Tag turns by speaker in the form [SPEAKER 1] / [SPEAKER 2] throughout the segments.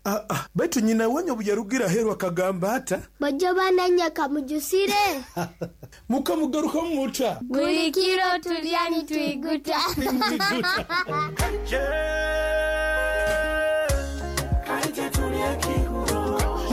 [SPEAKER 1] Aa, baitu nyina wanyu obu yarugire aheeru akagamba ata?
[SPEAKER 2] Bajjo bananya kamujusire.
[SPEAKER 1] Mukamugarukamu muta?
[SPEAKER 2] Buli kiro tulya nitwiguta.
[SPEAKER 1] Nimwiguta.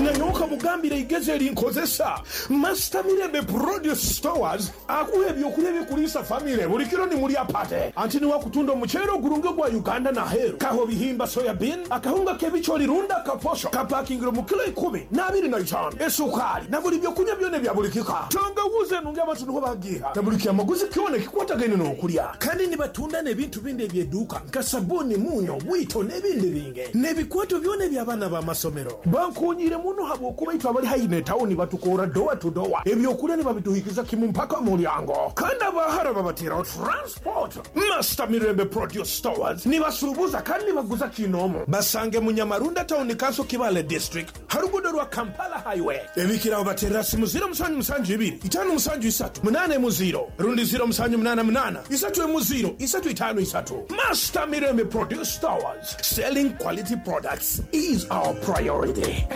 [SPEAKER 1] Nanyowe kamugambire eigezi erinkozesa. Master Mirembe Produce Stores akuha ebyokulya ebikuliisa famire buli kiro nimulya pate. Anti niwe akutunda omuceere ogurungi ogwa Uganda n'aheeru. Kaho bihimba soya bean, akahunga k'ebicoori rundi akaposho kapakingire omu kilo ikumi n'abiri na itaano, esukaali na buli byokunywa byona ebya buli kika. Tangawuuzi enungi abantu niho bagiiha na buli kyamaguzi kyona ekikwatagaine n'okulya. Kandi nibatunda n'ebintu bindi eby'eduuka nka sabuuni, muunyo, bwito n'ebindi bingi. N'ebikwato byona eby'abaana b'amasomero. Bankoonyeire muno habw'okuba itwe abali haihi n'etawuni batukoora dowa tu dowa, eby'okulya nibabituhikiza kimu mpaka mu mulyango. Kandi abaahara babateeraho transport. Master Mirembe Produce Stores nibasuubuza kandi nibaguza kiinoomu. Basange mu Nyamarunda Town Council Kibaale District ha luguudo rwa Kampala Highway. Ebikiraho bateerera simu ziro musanju musanju ibiri, itaano musanju isatu, munaana emu ziro rundi ziro musanju munaana munaana, isatu emu ziro, isatu itaano isatu. Master Mirembe Produce Stores, selling quality products is our priority.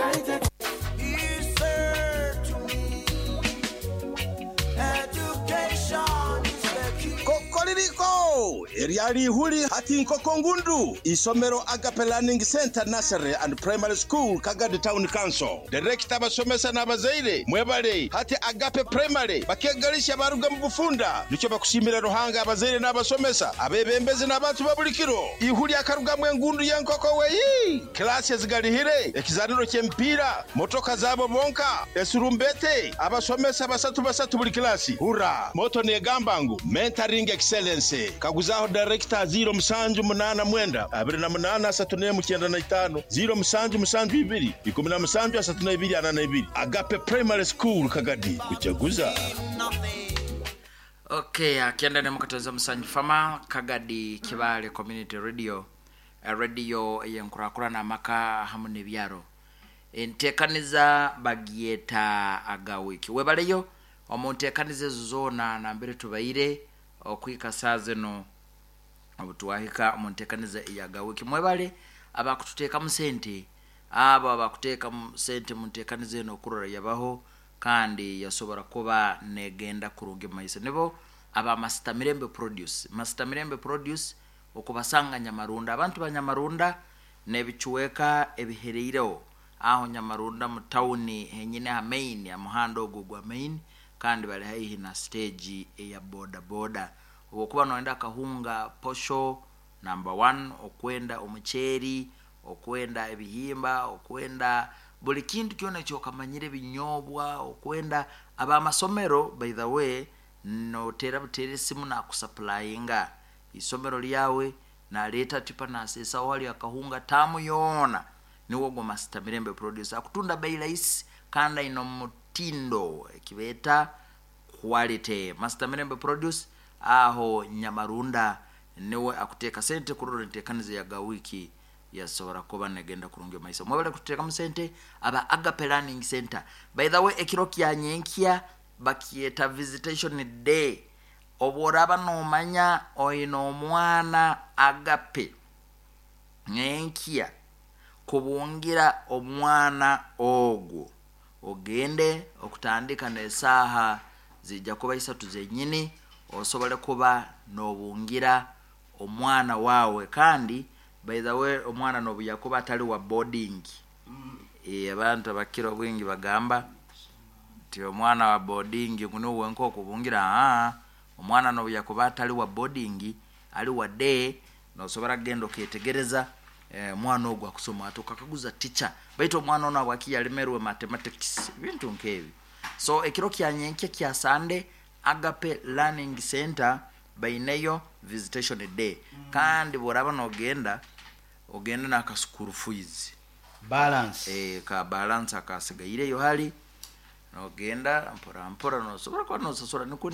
[SPEAKER 3] Kokoririko! Eryali ihuli hati nkoko ngundu. Isomero Agape Learning Center Nursery and Primary School, Kagadi Town Council. Director abasomesa n'abazaire mwebale hati Agape Primary bakegalisha baruga mu bufunda. Nikyo bakushimira Ruhanga abazaire n'abasomesa abebembezi n'abantu ba buli kiro. Ihuli akarugamu engundu y'enkoko weyi. Klasi ezigalihire, ekizaniro ky'emipiira, motoka zabo bonka, esurumbete, abasomesa basatu basatu buli klasi. Hurra! Moto negamba ngu mentoring excellence. Kaguzaho director 0789 28 3195 0772 17 32 42. Agape Primary School Kagadi kuchaguza.
[SPEAKER 4] Okay, akienda ni mukatoza musanju fama Kagadi Kibale Community Radio, radio eyenkurakurana amaka hamu n'ebyaro. Enteekaniza bagyeta agawiki. Webaleyo omu nteekaniza ezo zoona nambere tubaire okwika saa zino obu twahika omu nteekaniza eyagawiki. Mwebale abakututeekamu sente, abo abakuteekamu sente mu nteekaniza eno okurora yabaho kandi yasobora kuba negenda kurungi mumaiso. Nibo aba Master Mirembe Produce. Master Mirembe Produce okubasanga Nyamarunda. Abantu ba Nyamarunda n'ebicuweka ebihereireho aho Nyamarunda mu tawuni henyine ha main, ha muhanda ogwo gwa main, kandi bali haihi na stage eya boda boda. Obwokuba noyenda akahunga posho number 1, okwenda omuceeri, okwenda ebihimba, okwenda buli kintu kyona ekyokamanyire, ebinyobwa, okwenda abamasomero. By the way, notera buteera esimu nakusupplyinga isomero lyawe, naleeta tipa naseesaho hali akahunga taamu yoona. Niwo ogwo Master Mirembe Produce akutunda bei rahisi kandi aine omutindo ekibeeta quality. Master Mirembe Produce aho Nyamarunda niwe akuteeka sente kurora enteekaniza ya gawiki yasobora kuba negenda kurungi maiso. Mwebale kututeekamu sente aba Agape Learning Center. By the way, ekiro kya nyenkya bakyeta visitation day. Obworaba nomanya oine omwana Agape nyenkya kubungira omwana ogwo ogende okutandika n'esaaha zijja kuba isatu zenyini osobole kuba n'obungira omwana wawe. Kandi by the way, omwana nobu yakuba atali wa boarding, abantu abakira obwingi bagamba nti omwana wa boarding ngu niwe wenka okubungira. Aa, omwana nobu yakuba atali wa boarding ali wa day, nosobora kugenda oketegereza omwana ogwo akusoma ati, okakaguza teacher baitu omwana ono habwaki yalemerwe mathematics, ebintu nkebi. So ekiro kya nyenkya kya Sunday, Agape Learning Center baineyo visitation day. Kandi bworaba nogenda ogende n'aka school fees
[SPEAKER 5] balance,
[SPEAKER 4] ka balance akasigaireyo hali nogenda mpora mpora nosobora kuba nosasura nikwo.